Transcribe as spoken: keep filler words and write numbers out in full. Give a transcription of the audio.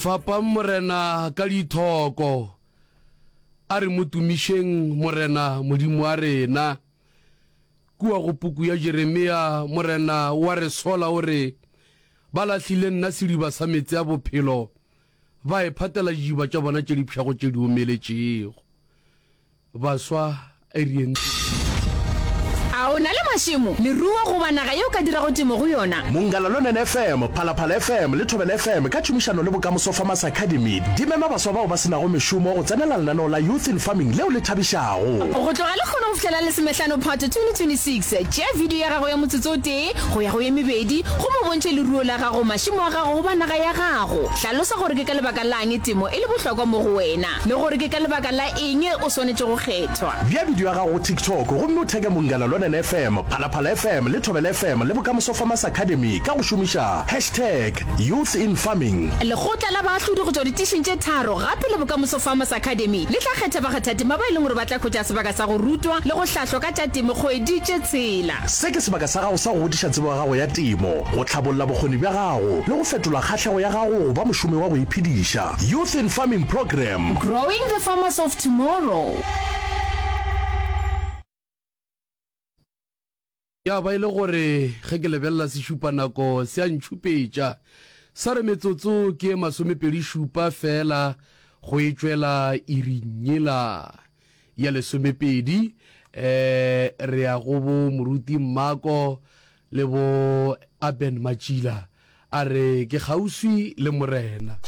Fapang Morena ka dithoko, a re mo tumišeng Morena Modimo wa rena. Kua go puku ya Jeremia, Morena o a re sola o re, Ba lahlile nna sediba sa meetse a bophelo, ba iphatela didiba tša bona tše di pšhago tše di omeletšego. Baswa, a re yeng tirong. A o na le mašemo, leruo goba naga ye o ka dirago temo go yona? Munghana Lonene F M, Phalaphala F M le Thobela F M ka tšhomišano le Bokamoso Farmers Academy di mema baswa bao ba se nago mešomo go tsenela lenaneo la Youth in Farming leo le thabišago. Go tloga lehono go fihla la lesomehlano Phato twenty twenty-six, tšea video ya gago ya motsotso o tee go ya go ye mebedi gomme o bontšhe leruo la gago, mašemo a gago goba naga ya gago. Hlalosa gore ke ka lebaka lang temo e le bohlokwa mo go wena le gore ke ka lebaka la eng o swanetše go kgethwa. Bea video ya gago go TikTok gomme o theke Munghana Lonene F M, Phalaphala F M le Thobela F M le Bokamoso Farmers Academy ka go šomiša hashtag Youth in Farming. Lekgotla la baahlodi go tšwa ditišing tše tharo gape le Bokamoso Farmers Academy le tla kgetha bakgathatema ba e leng gore ba tla hwetša sebaka sa go rutwa le go hlahlwa ka tša temo kgwedi tše tshela. Se ke sebaka sa gago sa go godiša tsebo ya gago ya temo, go hlabolla bokgoni bja gago le go fetola kgahlego ya gago go ba mošomi wa go iphediša. Youth in Farming Programme. Growing the farmers of tomorrow. Ya ba e le gore ge ke lebelela sešupanako se a ntšhupetša, sa re metsotso ke ye masomepedi šupa feela go e tšwela iring yela ya lesomepedi. Um re ya go bo Moruti Mmako le bo Aben Matšila, a re ke kgauswi le Morena.